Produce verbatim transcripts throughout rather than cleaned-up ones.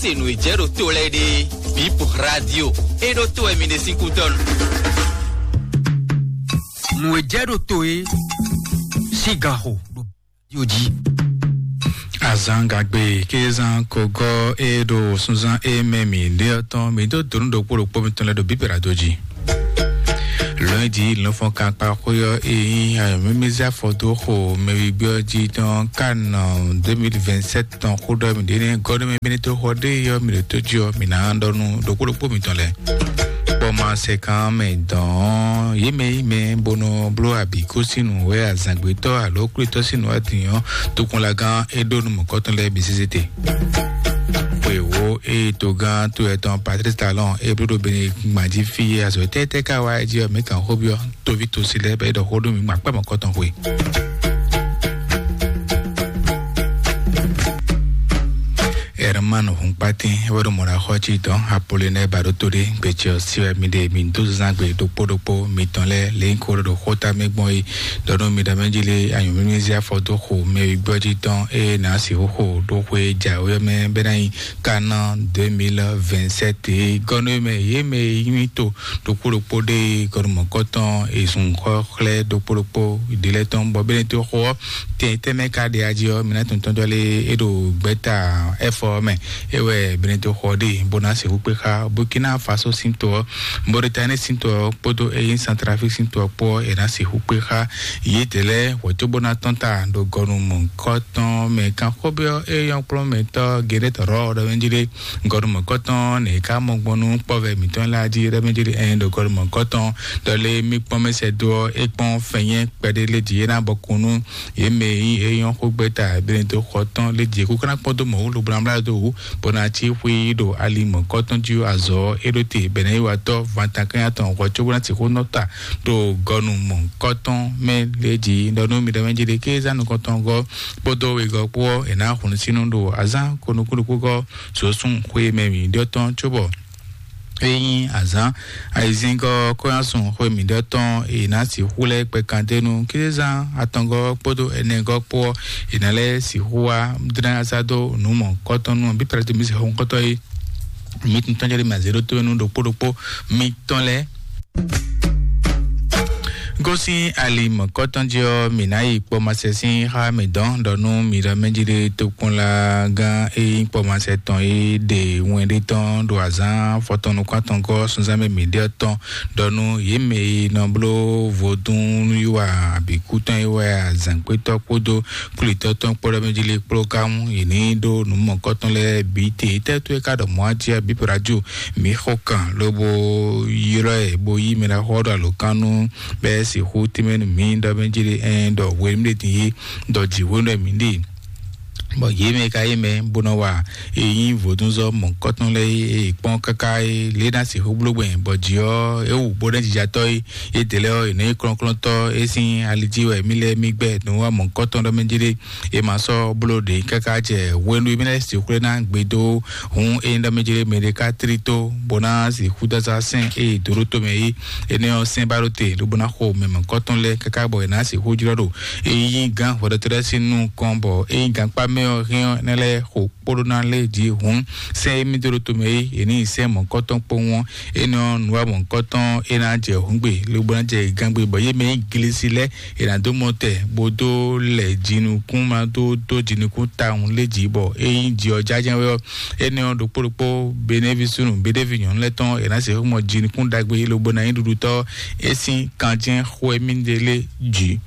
Se nǔ e jɛ ɖo to lɛ́ɛ ɖe, Bip Radio, e ɖo to wɛ mi ɖe sín kútɔ́nu. Nǔ e jɛ ɖo to e, sigaxo ɖo radio jí. Azangagbe kézan kogɔ e ɖo sunzan e mɛ mi ɖe ɔtɔn mi ɖo donu ɖokpó ɖokpó mitɔn lɛ ɖo Bip Radio jí. Lɔnji lɔnfɔn kakpa xóyɔ e nyí ayɔmɛmɛzia fɔdo xo mɛwigbɔ jí tɔn kan deux mille vingt-sept tɔn xó ɖɔ mi ɖe ne gɔdɔ mɛ bene to xɔ ɖe yɔ mi ɖo to jí ɔ mi ná ɖɔ nu ɖokpó ɖokpó mitɔn lɛ. Kpɔma sɛ kan mɛ dɔn yé mɛ yí mɛ bonɔ bló abi kó sínú wɛ azangbetɔ alo kúlítɔ sínú adìyàn tó kún la gán é ɖó nu mɔkɔtɔn lɛ bi sésé te. Xwe wo eye togán to etɔn Patrice Talon e bló ɖo Benin gbanjí fí e azɔ tɛ́tɛ́ ka wá jí ɔ́ mɛ kan xó byɔ́ toví tosi lɛ́ɛ bɛ ɖɔ xó ɖó mi gbɔn akpá mɔ̌kɔtɔn xwe. Hermano Hunkpatin wɛ ɖo mɔɖaxɔ cí tɔn Apollinɛ Baɖoto ɖe gbecɛ ɔ́ si wɛ mi ɖe mi dó zán gbe ɖokpó ɖokpó mitɔn lɛ́ɛ lě nyí ko ɖo xóta mɛ gbɔn é ɖɔ nú mi ɖɔ mɛ jí lé anyǔmímí zé afɔ dó xo mɛ wígbɔ́ jí tɔn ée nǎ sixú xo ɖó xwe jǎwe ɔ́ mɛ bɛ́ ná nyí Kaná deux mille vingt-sept é gɔ́ nú mɛ yě mɛ e nyí to ɖokpó ɖokpó ɖé gɔnumɔkɔtɔn e zun xɔ xlɛ́ ɖokpó ɖokpó ɖě lɛ́ɛ tɔn bɔ bɛ́nɛ́ tó xo ɔ́ tɛn tɛnmɛ ka ɖe ají ɔ́ mi ná tun tɔn jɔ lé é ɖo gbɛ́ta ɛfɔ ɔ́ mɛ é wɛ bɛ́nɛ́ tó xɔ ɖe bó ná sixú kpé xá Burkina Faso sín to ɔ́ Mauritanie sín to ɔ́ kpódó eyín Centrafrique sín to ɔ́ kpó ɔ́ è nǎ sixú kpé xá yědɛɛ lɛ́ɛ hwɛ̌ cóbó ná tɔ́n ta ɖo gɔnumɔkɔtɔn mɛ kanxɔ́byɔ́ é nyɔ́ kplɔ́nmɛtɔ́ Gerɛt Rɔ ɖɔ mɛ jí ɖé gɔnumɔkɔtɔn nǐ ká mɔ gbɔn nú kpɔ́vɛ mǐtɔn lɛ́ɛ jí ɖɔ mɛ jí ɖé ɛn ɖo gɔnumɔkɔtɔn ɖɔ lé mí kpɔ́n mɛ sɛ́ dó ɔ́ é kpɔ́n fɛnyɛ́ kpɛɖé lé jí é ná bɔ kún nú yě mɛ e nyí é nyɔ́ xó gbɛ́ta bɛ́nɛ́ dó xɔ tɔn lé jí kúkú ná kpɔ́n dó mɔ̌ wú lobo ná blá dó wǔ bó ná cí xwí ɖo ali mɔ̌kɔtɔn jí azɔ̌ é ɖó te bɛ̌nɛ́ yi watɔ́ vantankɛ́nya tɔn hwɛ cóbó ná sixú nɔ ta ɖo gɔnu mɔ̌kɔtɔn mɛ lě jí ɖɔ nú mi ɖɔ mɛ jí ɖe kézán nukɔntɔn gɔ́ kpódó wegɔ́ kpó ɔ́ è nǎ hun sínú ɖo azán konukúnukúgɔ́ zǒsún xwé mɛ mǐ ɖɔ tɔn cóbɔ é nyí azǎn ayizíngɔ́ kɔ́yánsun xwé mǐɖɔ tɔn è nǎ sixú lɛ́ kpɛkandénu kézán atɔngɔ́ kpódó ɛnɛgɔ́ kpó ɔ́ è nǎ lɛ́ sixú wá dlɛ́n asá dó nǔ mɔ̌kɔtɔn nú bí Pilato mi sixú kɔ́tɔ́ é mi tún tɔn jɛ ɖe mɛ azě ɖó tó nú ɖokpó ɖokpó mitɔn lɛ́ɛ. Gosín ali mɔ̌kɔtɔn jí ɔ́, mǐ ná yi kpɔ́ masɛ sín xá mǐ dɔn ɖɔ nú mǐ ɖɔ mɛ jí ɖé tokpɔnla gán e nyí kpɔ́ masɛ tɔn é ɖe wɛn ɖé tɔn ɖo azǎn fɔtɔn nukún atɔngɔ́ sunzán mɛ mǐ ɖe ɔ́ tɔn ɖɔ nú yě mɛ e nɔ bló vodún nú yí wa abǐkú tɔn é wɛ azǎngbétɔ́ kpódó kwlítɔ́ tɔn kpó ɖɔ mɛ jí lé kpló ká mú yě ní ɖó nǔ mɔ̌kɔtɔn lɛ́ɛ bǐ te. Étɛ́ tó é ká ɖɔ mɔ̌ ǎ jí abǐ Pilato mǐ xo kan lobo ylɔ́ ɛ bó yí mɛ ɖaxó ɔ́ ɖo alǒkan nú bɛ́ sixú tínmɛ nú mǐ ɖɔ mɛ jí ɖe ɛn ɖɔ hwenu ɖé din yé ɖɔ jǐ hwenu ɖɔ mǐ ɖe bɔ yě mɛ ka yé mɛ bó nɔ wa e nyí vodúnzɔ́ mɔ̌kɔtɔn lɛ́ɛ é kpɔ́n káká é lě ná sixú bló gbɛn bɔ jǐ ɔ́ é wǔ bó ɖɛ́ jijatɔ́ é é dě lɛ́ ɔ́ è nɔ nyí kplɔ́nkplɔ́ntɔ́ é sín ali jí wɛ mí lɛ́ɛ mí gbɛ́ nǔ wa mɔ̌kɔtɔn ɖɔ mɛ jí ɖe é ma sɔ́ bló ɖě káká jɛ hwenu e mí lɛ́ sixú lɛ́ ná gbe dó hǔn é nyí ɖɔ mɛ jí ɖe mɛ ɖé ká tlí tó bó ná sixú dó azá sɛ́n é è dǒ ɖó tomɛ é énɛ́ ɔ́ sɛ́n ba ɖó te lobo ná xo mɛ mɔ̌kɔtɔn lɛ́ɛ káká bɔ è nǎ sixú jlɔ́ ɖo é nyí gǎn hwɛɖɔtɔ́ lɛ́ɛ sín nukɔn bɔ é nyí gankpá mɛ ɔ́ hɛn ɔ́ énɛ́ lɛ́ɛ xo kpóɖó ná lé jí hǔn sɛ́n émí dó ɖó tomɛ é è ní yi sɛ́n mɔ̌kɔtɔn kpó wɔn énɛ́ ɔ́ nǔ wa mɔ̌kɔtɔn é ná jɛ hǔngbe lobo ná jɛ gángbe bɔ yé mɛ nyí glesi lɛ́ɛ è nǎ dó mɔ tɛ bó dó lɛ jinukún ma dó dó jinukún tawun lé jí bɔ é nyí ji ɔ́ jájá wɛ ɔ́ énɛ́ ɔ́ ɖokpó ɖokpó benévi súnnu beɖévi nyɔ̌nu lɛ́ɛ tɔn è nǎ sixú mɔ jinukún ɖagbe lobo ná nyí ɖuɖutɔ́ é sín kanjɛ́n xwé mí ɖe lé jǐ.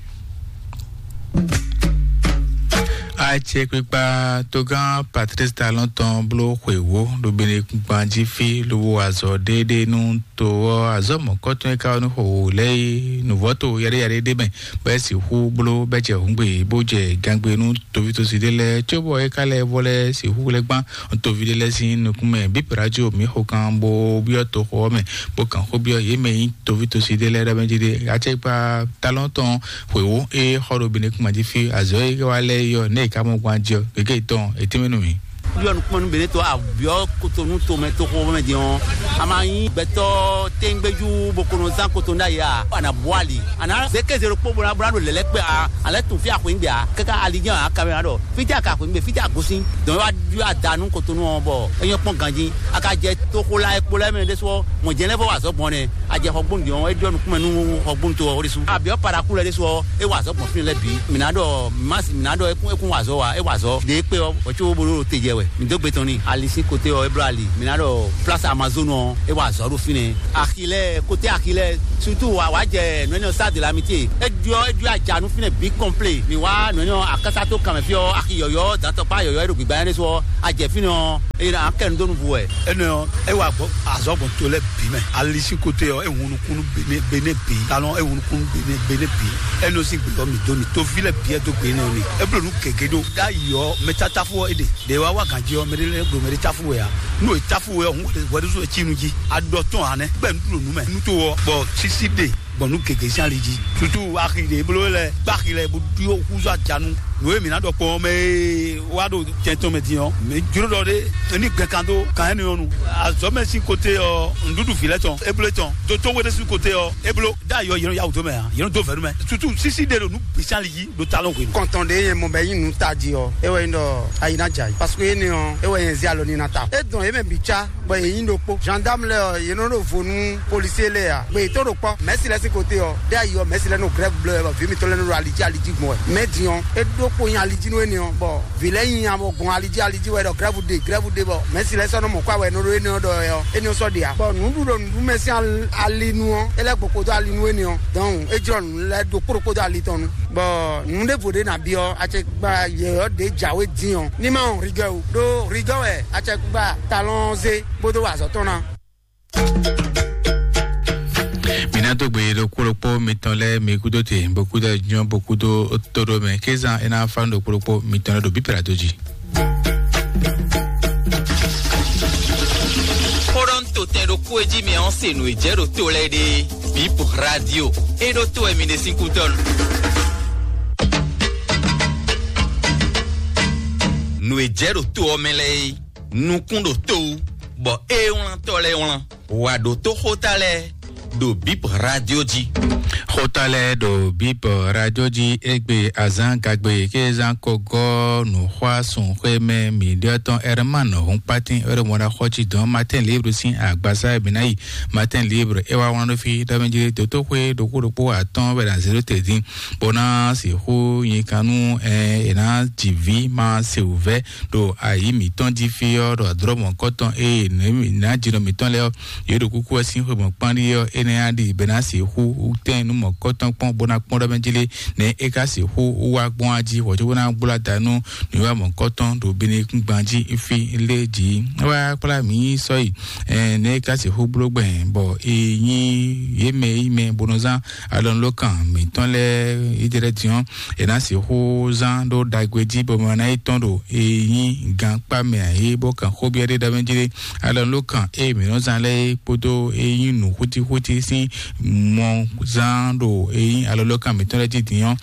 Acɛkpikpa togán Patrice Talon tɔn bló xwěwó ɖo Benekugban jí fí lobo azɔ ɖéɖé nú to ɔ́ azɔ̌ mɔ̌kɔtɔn e ka ɔ́ nú xo wǒ lɛ́ɛ é nǔvɔ́ to yaɖéyaɖé ɖé mɛ bɔ é sixú bló bɛ́ jɛ hǔngbe bó jɛ gangbe nú tovítɔ́sí ɖé lɛ́ɛ cóbɔ é ka lɛ́ vɔ lɛ́ sixú lɛ́ gbán toví ɖé lɛ́ɛ sín nukún mɛ bí Pilato mǐ xo kan bó byɔ́ toxo ɔ́ mɛ bó kan xó byɔ́ yě mɛ nyí tovítɔ́sí ɖé lɛ́ɛ ɖɔ mɛ jí ɖé acɛkpa talɔn tɔn xwěwó é xɔ ɖo Benekugban jí fí azɔ̌ e wá lɛ́ɛ é ɔ́ nɛ̌ è ka mɔ gbɔn ajɔ gěgé tɔn è tɛ́nmɛ nú mǐ. Ɖɔ nukúnnú Benetɔ abyɔ́ Kotonu tomɛ toxo mɛ din ɔ́, a ma nyí gbɛtɔ́ téŋgbéjú bo ko nɔ zán Kotonu ɖ'ayǐ a? A nǎ bú ali, a nǎ zé kéze ɖokpó bó ná bó ná ɖo lɛ̌lɛ́ kpé a? A lɛ́ tunwun fí a xweyǐngbe a? Káká ali jɛ́n a kamɛ ɖɔ fítɛ́ a ka xweyǐngbe, fítɛ́ a gosín. Dɔn é wá ɖyɔ́ ada nú Kotonu ɔ́ bɔ é nyɔ́ kpɔ́n ganjí. A ka jɛ toxo la e kpo lɛ́ɛ mɛ ɖésú ɔ́, mɔ̌ jɛ́n lɛ́ vɔ wa azɔ̌ gbɔn nɛ́. A jɛ xɔgbónu din ɔ́, é ɖɔ nukúnmɛ nú xɔgbónu to ɔ́ ɖésú. Abyɔ́ Paraku lɛ́ɛ ɖésú ɔ́, é wa azɔ̌ gbɔn fínɛ́ lɛ́ɛ bǐ. Mǐ ná ɖɔ Masi, mǐ ná ɖɔ é kún é kún wa azɔ̌ wa, é wa azɔ̌. Ɖě kpé ɔ́, hwɛ̌ có bó ɖo te jɛ wɛ. Mǐ dó gbe tɔn n'i. Ali sín kote ɔ́, é bló ali. Mǐ ná ɖɔ Place Amazone ɔ́, é wa azɔ̌ ɖo fínɛ́. Axi lɛ́ɛ, kote axi lɛ́ɛ, surtout wa wa jɛ nǔ énɛ́ ɔ́ Stade de l'Amitié. É ɖyɔ́ é ɖyɔ́ aja nú fínɛ́ bǐ kɔnplé. Mǐ wá nǔ énɛ́ ɔ́ akásá tó kanmɛ fí ɔ́, axi yɔ̌yɔ́, dantɔkpá yɔ̌yɔ́ é ɖo gbǐgbá nyanya ɖésú ɔ́, a jɛ fínɛ́ ɔ́, é ná kɛ nu dó nuvú wɛ. Énɛ́ ɔ́, é wa gbɔ azɔ̌ gbɔn to lɛ́ɛ bǐ mɛ. Ali sín kote ɔ́, é hun nukún nú Benin, Benin bǐ. Talɔn, é hun nukún nú Benin, Benin bǐ. Énɛ́ ɔ́ sín gbe ɔ́, mǐ dó mì. Toví lɛ́ɛ bǐ é dó gbe énɛ́ ɔ́ n'i. É bló nǔ gěgé ɖó. Ɖ'ayǐ ɔ́, mɛ tátáfú ɔ́ é ɖe. Ɖě wá wá gǎn jí ɔ́, mɛ ɖé lɛ́ɛ ɖo mɛ ɖé táfú wɛ ǎ. Nú è táfú wɛ ɔ́, hǔn hwɛɖésú wɛ cí nu jí. A ɖɔ tɔn ǎ nɛ́. Bɛ́ nu ɖo nǔ mɛ. Nu tó ɔ́, bɔ sísí ɖe gbɔn nú gěgé sín ali jí. Sutu axi ɖě bló lɛ, gbá axi lɛ bó ɖó húzú ajanu. Nǔ e mǐ ná ɖɔ kpɔ́n ɔ́ mɛ e wá ɖo tɛn tɔn mɛ din ɔ́, mǐ jló ɖɔ ɖé ní gbɛn kan dó kan énɛ́ ɔ́ nu. Azɔ̌ mɛ sín kote ɔ́, nǔɖuɖu vǐ lɛ́ɛ tɔn, é bló é tɔn. Dotó wé ɖé sín kote ɔ́, é bló. Ɖ'ayǐ ɔ́, yě nɔ yá wǔ dó mɛ ǎ, yě nɔ dó vɛ̌ nú mɛ. Sutu sísí ɖe ɖo nǔ bǐ sín ali jí ɖo talɔn hwenu. Kɔntɔn ɖé nyɛ mɔ bɛ nyí nǔ tají ɔ́, é wɛ nyí ɖɔ ayi ná jɛ ayǐ. Parce que énɛ́ ɔ́, é wɛ nyɛ zé alɔ ní ná ta. É dɔn yě mɛ bǐ cá. Bɔ yě nyí ɖokpó. Gendarme lɛ́ɛ ɔ́, yě nɔ ɖo vo nú policier lɛ́ɛ ǎ. Gbé yětɔn ɖo kpɔ́. Mɛ̌si lɛ́ɛ sín kote ɔ́, ɖé ayi ɔ́, mɛ̌si lɛ́ɛ nɔ grève bló wɛ, bɔ vǐ mitɔn lɛ́ɛ nɔ ɖo ali jí ali jí gbɔn wɛ. Mɛ̌ din ɔ́, é ɖó kpo nyi ali jí nú énɛ́ ɔ́, bɔ vǐ lɛ́ɛ nyi nya bɔ gbɔn ali jí ali jí wɛ ɖɔ grève ɖe, grève ɖe, bɔ mɛ̌si lɛ́ɛ sɔ́ nɔ mɔ kɔ wɛ nɔ ɖo énɛ́ ɔ́ ɖɔ wɛ ɔ́, énɛ́ ɔ́ sɔ́ ɖe ǎ. Bɔ nǔɖuɖu nǔɖuɖu mɛ sín al- ali nu ɔ́, é lɛ́ gbɔ kpódó ali nú énɛ́ ɔ́, dɔn é jlɔ́ nǔ lɛ́ɛ ɖokpó ɖokpó dó ali tɔn nu. Bɔ nǔ ɖěvo ɖé nǎ byɔ́, acɛkpa yɛ̌yɔ́ ɖě jǎwe dín ɔ́, ní ma wɔn rigɔ́ o, ɖó rigɔ́ wɛ acɛkpa talɔn zé bó dó wa azɔ̌ tɔn ná. Mǐ ná dó gbe ɖokpó ɖokpó mitɔn lɛ́ɛ mi kúdó te, bo kúdó jɔn, bo kúdó tóɖó mɛ. Kézan é ná fá nú ɖokpó ɖokpó mitɔn lɛ́ɛ ɖo bíblá dó jí. Xóɖɔ́ntotɛn ɖokpó e jí mɛ ɔ́ se nǔ e jɛ ɖo to lɛ́ɛ ɖe. Bip Radio. É ɖó to wɛ mi ɖe sín kútɔ́ nu. Nǔ e jɛ ɖo to ɔ́ mɛ lɛ́ɛ é, nukún ɖo to wú, bɔ é wlántɔ́ lɛ́ɛ wlán. Wǎ ɖó tó xóta lɛ́ɛ ɖo Bip Radio jí. Xóta lɛ́ɛ ɖo Bip Radio jí égbé azán gagbe ké zán ko gɔ́ nǔxwásúnxwémɛ mǐɖɔtɔn Herman Hunpatin é ɖo mɔ ná xɔ cí dɔn Matin Libre sín agbasa e mǐ ná yi. Matin Libre é wá wlán ɖó fí ɖɔ mɛ jí dotóxwé ɖokpó ɖokpó atɔ́ɔ́n wɛ ná zé ɖó te dín, bó ná sixú nyi kan nú ɛ è nǎ ji vǐ ma se wǔvɛ́ ɖo ayi mǐtɔn jí fí ɔ́, ɖo adrɔ̌ mɔ̌kɔtɔn eye nǎjínɔ mǐtɔn lɛ́ɛ ɔ́, yě ɖo kúkú wɛ sín xwe mɔ̌kpán ɖi ɔ́, énɛ́ á ɖi bɛ ná sixú tɛ́n nú mɔ̌kɔtɔn kpɔ́n bó ná kpɔ́n ɖɔ mɛ jí lé, nɛ̌ é ka sixú wá gbɔn á jí hwɛ̌ cóbó ná gbló ada nú nǔwiwa mɔ̌kɔtɔn ɖo binukúngban jí fí lé jí. É wá kplá mǐ sɔ́ yi, nɛ̌ é ka sixú bló gbɛn bɔ è nyí yě mɛ e nyí mɛ bó nɔ zán alɔnulókan mǐtɔn lɛ́ɛ yi jɛ lɛ́ɛ din ɔ́, è nǎ sixú zán ɖó ɖagbe jí bɔ mɛ ná yi tɔ́n ɖo e nyí gankpá mɛ ǎ é bó kan xó byɔ́ ɖé ɖɔ mɛ jí ɖé. Alɔnulókan e mǐ nɔ zán lɛ́ɛ é kpódó e nyí nǔ xútíxútí sín mɔ zán ɖo e nyí alɔnulókan mǐtɔn lɛ́ɛ jí din ɔ́,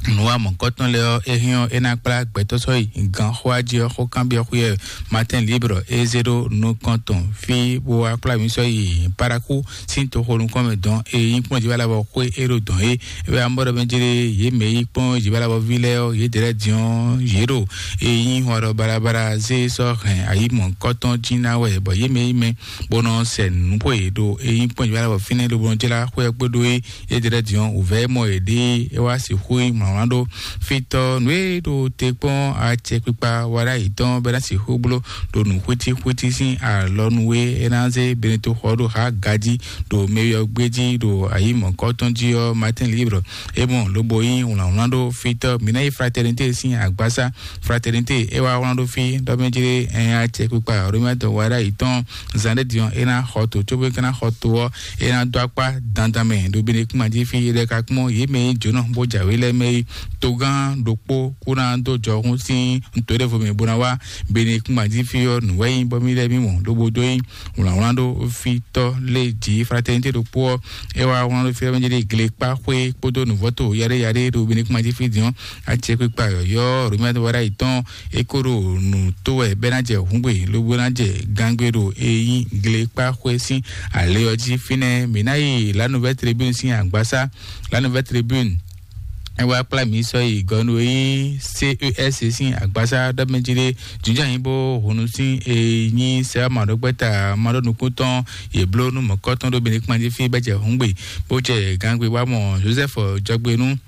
nǔwa mɔ̌kɔtɔn lɛ́ɛ ɔ́, é hɛn ɔ́, é ná kplá gbɛtɔ́ sɔ́ yi ganxóa jí ɔ́, xó kanbyɔ́ xwé ɛ Matin Libre é zé ɖó nukɔn tɔn fí bó wá kplá mǐ sɔ́ yi Paraku sín toxo nukɔn mɛ dɔn e nyí kpɔ́n jǐ bá labɔ xwé é ɖo dɔn é. É wɛ amɔ́ ɖɔ mɛ jlé yě mɛ yí kpɔ́n jǐ bá labɔ ví lɛ́ɛ ɔ́, yě dɛ́ lɛ́ɛ din ɔ́, yě ɖo e nyí hɔn ɖɔ balabala zé sɔ́ hɛn ayǐ mɔ̌kɔtɔn jí ná wɛ, bɔ yě mɛ yí mɛ bó nɔ sɛ nǔ xwe ɖo e nyí kpɔ́n jǐ bá labɔ fínɛ́ lobo nɔ jlá xwé ɔ́ kpódó é. Yé jɛ ɖɔ diɔn wǔvɛ́ mɔ yě ɖe é wá sixú yi mlɔmlɔ ɖó fítɔ́ nǔ e ɖo te kpɔ́n acɛkpikpa wa ɖ'ayǐ tɔn bɛ ná sixú bló ɖo nǔ xwítíxwítí sín alɔnu e é ná zé Benito xɔ ɖo ha gají ɖo mɛyɔgbé jí ɖo ayǐ mɔ̌kɔtɔn jí ɔ́. Matin Libre é mɔ lobo yí wlǎnwlán ɖó fítɔ́ mǐ ná yi fraternité sín agbásá. Fraternité é wá wlán ɖó fí ɖɔ mɛ jlé ɛn acɛkpikpa Romain dɔn wa ɖ'ayǐ tɔn zan ɖé diɔn é ná xɔ to cóbó é ka ná xɔ to ɔ́, é ná dó akpá dandan mɛ ɖo Benekuma jí fí é ɖɛ́ ka kpɔ́n yě mɛ nyí jǒnɔ bó jǎwe lɛ́ɛ mɛ é togán ɖokpó kó ná dó jɔhún sín nǔtɔ́ɖɛvɔ mɛ bó ná wá Benekúngban jí fí ɔ́, nǔ wɛ nyí bɔ mì lɛ́ mì mɔ ɖó bó dó nyí wlǎnwlán ɖó fítɔ́ lé jí fraternité ɖokpó ɔ́. É wá wlán ɖó fí ɔ́ mɛ jí ɖe glekpá xwé kpódó nǔvɔ́to yaɖé yaɖé ɖo Benekúngban jí fí din ɔ́, acɛkpikpa yɔ̌yɔ́ Romuald Wadagni tɔn é kó ɖo nǔ tó wɛ bɛ́ ná jɛ hǔngbe lobo ná jɛ gangbe ɖo e nyí glekpá xwé sín alě ɔ́ jí. Fínɛ́ mǐ ná yi La Nouvelle Tribune sín agbasá. La Nouvelle Tribune é wá kplá mǐ sɔ́ yi gɔnu e nyí C E S sín agbasá ɖɔ mɛ jí ɖé jǐnjɔ́n nyí bó hunu sín e nyí sɛ́ maɖɔgbɛ́ta maɖɔnukúntɔn yě bló nú mɔ̌kɔtɔn ɖó Benekúngban jí fí bɛ́ jɛ hǔngbe bó jɛ gangbe wá mɔ Joseph Jɔgbenu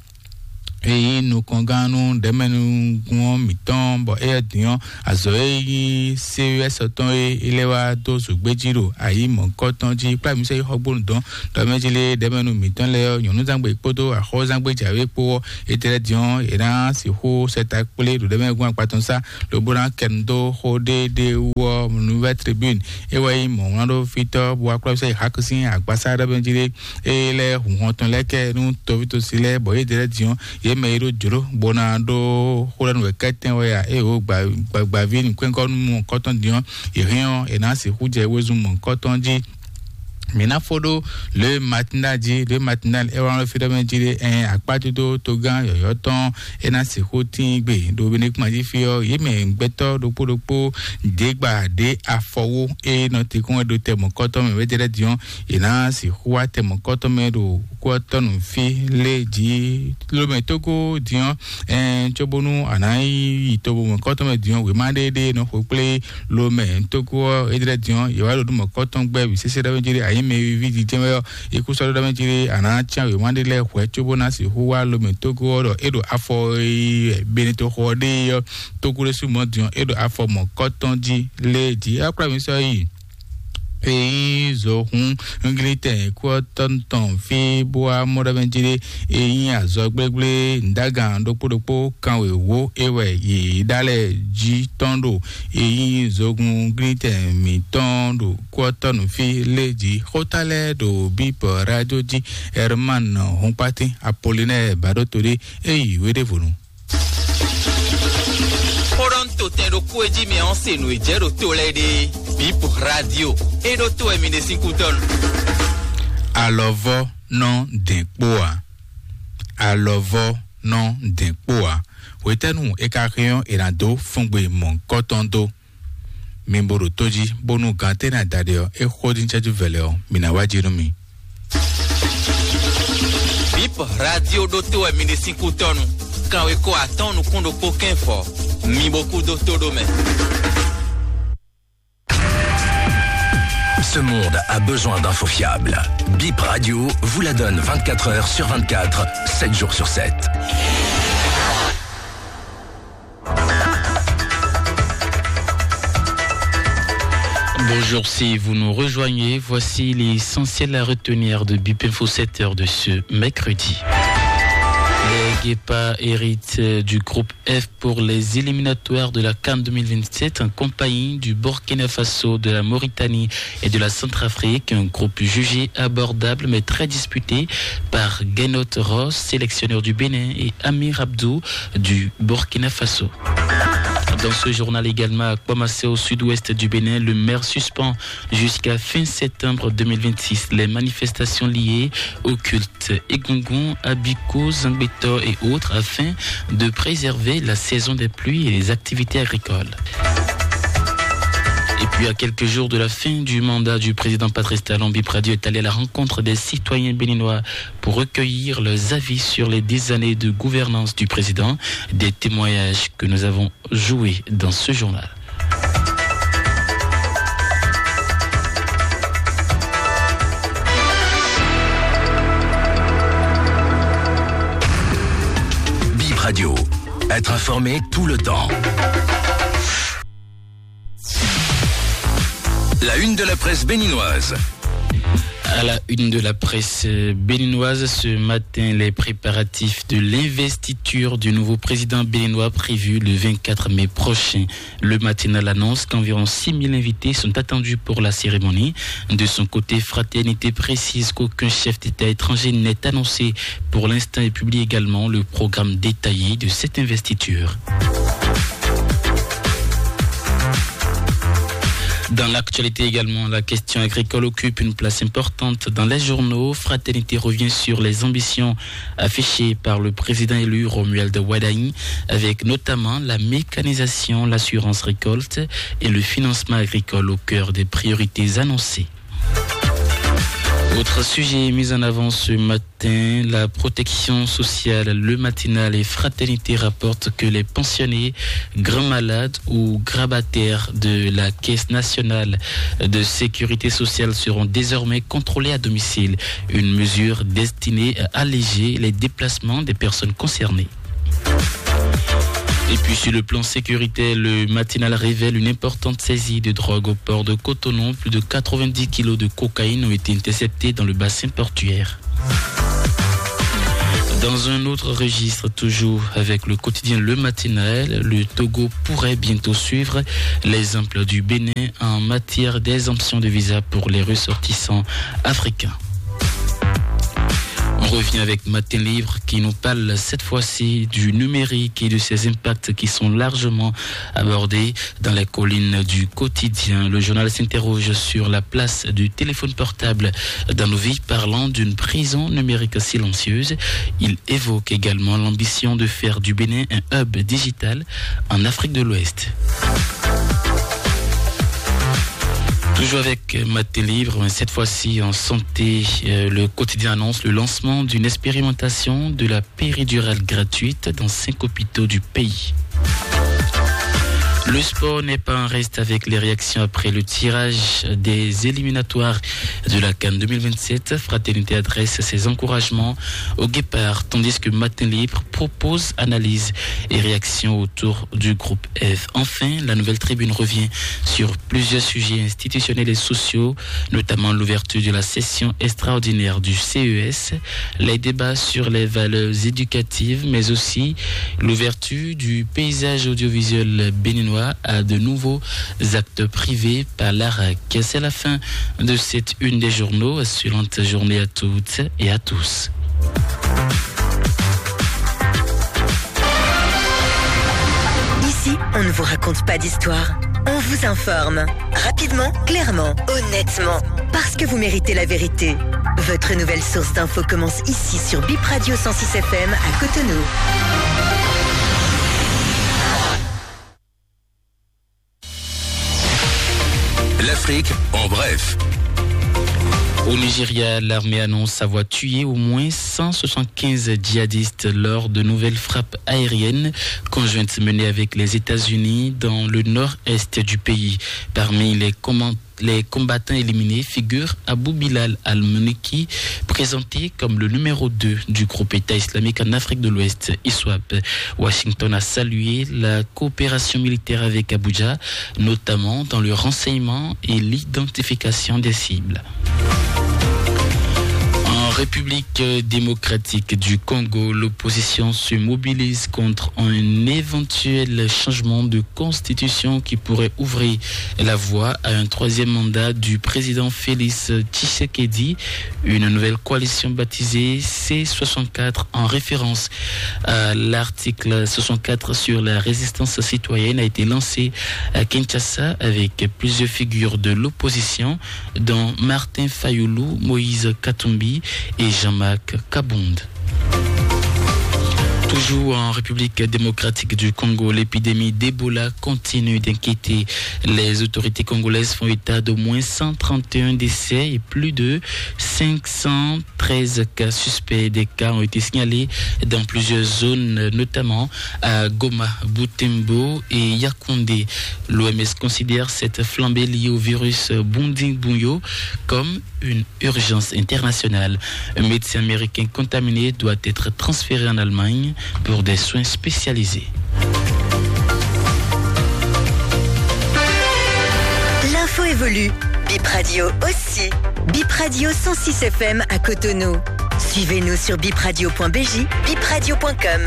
e nyí nukɔngán nú ɖɛ̌mɛnúgún ɔ́ mǐtɔn, bɔ éyɛ́ din ɔ́, azɔ̌ e nyí C E S tɔn e é lɛ́ wá dó zǒgbé jí ɖo ayǐ mɔ̌hunkɔtɔn jí kplá mǐ sɔ́ yi xɔgbónu dɔn ɖɔ mɛ jí lé ɖɛ̌mɛnu mǐtɔn lɛ́ɛ ɔ́, nyɔ̌núzangbe kpódó axɔ́zangbe jǎwe kpó ɔ́, étɛ́ lɛ́ɛ din ɔ́, è nǎ sixú sɛ ta kplé ɖo ɖɛ̌mɛnúgún akpa tɔn sá lobo ná kɛ nu dó xó ɖéeɖée wú ɔ́, Nouvelle Tribune é wɛ nyí mɔ̌hwlánɖófítɔ́ bó wá kplá mǐ sɔ́ yi Xaku sín agbasá ɖɔ mɛ jí lé é lɛ́ hun hɔn tɔn lɛ́ɛ kɛ nú tɔví tosi lɛ́ɛ, bɔ yě dɛ lɛ́ɛ din ɔ́, yě mɛ e ɖó jlǒ bó ná ɖó xó lɛ́ɛ nú wɛ kɛ́tɛ́n wɛ a? Ée wǒ gbaví nǔkwɛ́nkɔ́ nú mɔ̌hunkɔtɔn din ɔ́, yě hɛn ɔ́, è nǎ sixú jɛ wezun mɔ̌hunkɔtɔn jí. Mǐ ná fó ɖó Le Matinal jí, Le Matinal é wá nɔ fí ɖɔ mɛ jí ɖé ɛn akpájúdó togán yɔ̌yɔ́ tɔn é ná sixú tín gbe ɖo Benekúngban jí fí ɔ́, yě mɛ gbɛtɔ́ ɖokpó ɖokpó ɖě gba ɖě afɔwó é nɔ te kún wɛ ɖo tɛ mɔ̌hunkɔtɔn mɛ wědɛ́ lɛ́ɛ din ɔ́, yě ná sixú wá tɛ mɔ̌hunkɔtɔn mɛ ɖo kú ɔ́ tɔn nú fí lé jí. Lomɛ Tógó din ɔ́, ɛn cóbónú a nǎ yi to mɔ̌hunkɔtɔn mɛ din ɔ́, wěma ɖé ɖé nɔ xo kplé Lomɛ Tógó ɔ́, é ɖlɛ́ din ɔ́, yě wá ɖo nú mɔ̌hunkɔtɔn gbɛ́ wǐ sésé ɖɔ mɛ jí ɖé, ayǐ mɛ e ví jijɛ wɛ ɔ́, é kú sɔ́ ɖɔ mɛ jí ɖé, a nǎ cyán wěma ɖé lɛ́ɛ hwɛ̌ cóbó ná sixú wá Lomɛ Tógó ɔ́ ɖɔ é ɖo afɔ e Benito xɔ ɔ́ ɖe é ɔ́, Tógó ɖésú mɔ̌ din ɔ́, é ɖo afɔ mɔ̌hunkɔtɔn jí lé jí. É wá kplá mǐ sɔ́ yi e nyí zohún nglítɛn kú ɔ́ tɔn tɔn fí bó wá mɔ ɖɔ mɛ jí ɖé e nyí azɔgblégblé ndágan ɖokpó ɖokpó kanwěwó é wɛ yě ɖa lɛ́ɛ jí tɔn ɖo e nyí zogun nglítɛn mǐtɔn ɖo kú ɔ́ tɔn nú fí lé jí. Xóta lɛ́ɛ ɖo bíbɔ rájó jí. Herman Hunkpatín Apolinɛ́ɛ Baɖótodé é yi wéɖévonu. Xó ɖɔ un to tɛn ɖokpó e jí mɛ ɔ́ se nǔ e jɛ ɖo to lɛ́ɛ ɖe. Bip Radio e ɖó to wɛ mi ɖe sín kútɔ́nu. Alɔvɔ́ nɔ dɛn kpó ǎ. Alɔvɔ́ nɔ dɛn kpó ǎ. Hwetɛ́nu è ka hɛn ɔ́, è nǎ dó fúngbe mɔ̌hunkɔtɔn dó? Mi bo ɖo tó jí, bónú gantɛ́ ná da ɖe ɔ́, é xó dín cɛ́jú vɛlɛ ɔ́, mi ná wá jí nú mì. Bip Radio ɖótó wɛ mi ɖe sín kútɔ́nu. Kanwekó atɔ́ɔ́n nukún ɖokpó kɛ́nfɔ, mi bo kú dó tó ɖó mɛ. Ce monde a besoin d'infos fiables. Bip Radio vous la donne vingt-quatre heures sur vingt-quatre, sept jours sur sept. Bonjour, si vous nous rejoignez, voici l'essentiel à retenir de Bip Info sept heures de ce mercredi. Les Guépards héritent du groupe F pour les éliminatoires de la CAN deux mille vingt-sept en compagnie du Burkina Faso, de la Mauritanie et de la Centrafrique. Un groupe jugé abordable mais très disputé par Gernot Rohr, sélectionneur du Bénin, et Amir Abdou du Burkina Faso. Dans ce journal également, à Kpamassé, au sud-ouest du Bénin, le maire suspend jusqu'à fin septembre deux mille vingt-six les manifestations liées au culte Egungun, Abiko, Zangbeto et autres afin de préserver la saison des pluies et les activités agricoles. Et puis, à quelques jours de la fin du mandat du président Patrice Talon, Bip Radio est allé à la rencontre des citoyens béninois pour recueillir leurs avis sur les dix années de gouvernance du président, des témoignages que nous avons joués dans ce journal. Bip Radio, être informé tout le temps. La une de la presse béninoise. À la une de la presse, euh, béninoise ce matin, les préparatifs de l'investiture du nouveau président béninois prévu le vingt-quatre mai prochain. Le Matinal annonce qu'environ six mille invités sont attendus pour la cérémonie. De son côté, Fraternité précise qu'aucun chef d'État étranger n'est annoncé pour l'instant et publie également le programme détaillé de cette investiture. Dans l'actualité également, la question agricole occupe une place importante dans les journaux. Fraternité revient sur les ambitions affichées par le président élu Romuald Wadagni, avec notamment la mécanisation, l'assurance récolte et le financement agricole au cœur des priorités annoncées. Autre sujet mis en avant ce matin, la protection sociale. Le Matinal et Fraternité rapportent que les pensionnés, grands malades ou grabataires de la Caisse nationale de sécurité sociale seront désormais contrôlés à domicile. Une mesure destinée à alléger les déplacements des personnes concernées. Et puis sur le plan sécuritaire, le Matinal révèle une importante saisie de drogue au port de Cotonou. Plus de quatre-vingt-dix kilos de cocaïne ont été interceptés dans le bassin portuaire. Dans un autre registre, toujours avec le quotidien Le Matinal, le Togo pourrait bientôt suivre l'exemple du Bénin en matière d'exemption de visa pour les ressortissants africains. On revient avec Matin Libre qui nous parle cette fois-ci du numérique et de ses impacts qui sont largement abordés dans les collines du quotidien. Le journal s'interroge sur la place du téléphone portable dans nos vies, parlant d'une prison numérique silencieuse. Il évoque également l'ambition de faire du Bénin un hub digital en Afrique de l'Ouest. Toujours avec Matin Libre, mais cette fois-ci en santé, euh, le quotidien annonce le lancement d'une expérimentation de la péridurale gratuite dans cinq hôpitaux du pays. Le sport n'est pas en reste avec les réactions après le tirage des éliminatoires de la CAN deux mille vingt-sept. Fraternité adresse ses encouragements aux Guépards, tandis que Matin Libre propose analyse et réaction autour du groupe F. Enfin, la Nouvelle Tribune revient sur plusieurs sujets institutionnels et sociaux, notamment l'ouverture de la session extraordinaire du C E S, les débats sur les valeurs éducatives, mais aussi l'ouverture du paysage audiovisuel béninois à de nouveaux acteurs privés par l'ARAC. C'est la fin de cette une des journaux. Excellente journée à toutes et à tous. Ici, on ne vous raconte pas d'histoire. On vous informe. Rapidement, clairement, honnêtement. Parce que vous méritez la vérité. Votre nouvelle source d'infos commence ici sur Bip Radio cent six F M à Cotonou. L'Afrique en bref. Au Nigeria, l'armée annonce avoir tué au moins cent soixante-quinze djihadistes lors de nouvelles frappes aériennes conjointes menées avec les États-Unis dans le nord-est du pays. Parmi les comman-, les combattants éliminés figure Abu Bilal al-Muniki, présenté comme le numéro deux du groupe État islamique en Afrique de l'Ouest, ISWAP. Washington a salué la coopération militaire avec Abuja, notamment dans le renseignement et l'identification des cibles. En République démocratique du Congo, l'opposition se mobilise contre un éventuel changement de constitution qui pourrait ouvrir la voie à un troisième mandat du président Félix Tshisekedi. Une nouvelle coalition baptisée C soixante-quatre, en référence à l'article soixante-quatre sur la résistance citoyenne, a été lancée à Kinshasa avec plusieurs figures de l'opposition, dont Martin Fayulu, Moïse Katumbi et Jean-Marc Kabund. Toujours en République démocratique du Congo, l'épidémie d'Ebola continue d'inquiéter. Les autorités congolaises font état d'au moins cent trente et un décès et plus de cinq cent treize cas suspects. Des cas ont été signalés dans plusieurs zones, notamment à Goma, Butembo et Yaoundé. L'O M S considère cette flambée liée au virus Bundibugyo comme une urgence internationale. Un médecin américain contaminé doit être transféré en Allemagne pour des soins spécialisés. L'info évolue. Bip Radio aussi. Bip Bip Radio cent six F M à Cotonou. Suivez-nous sur bipradio point B J, bipradio point com.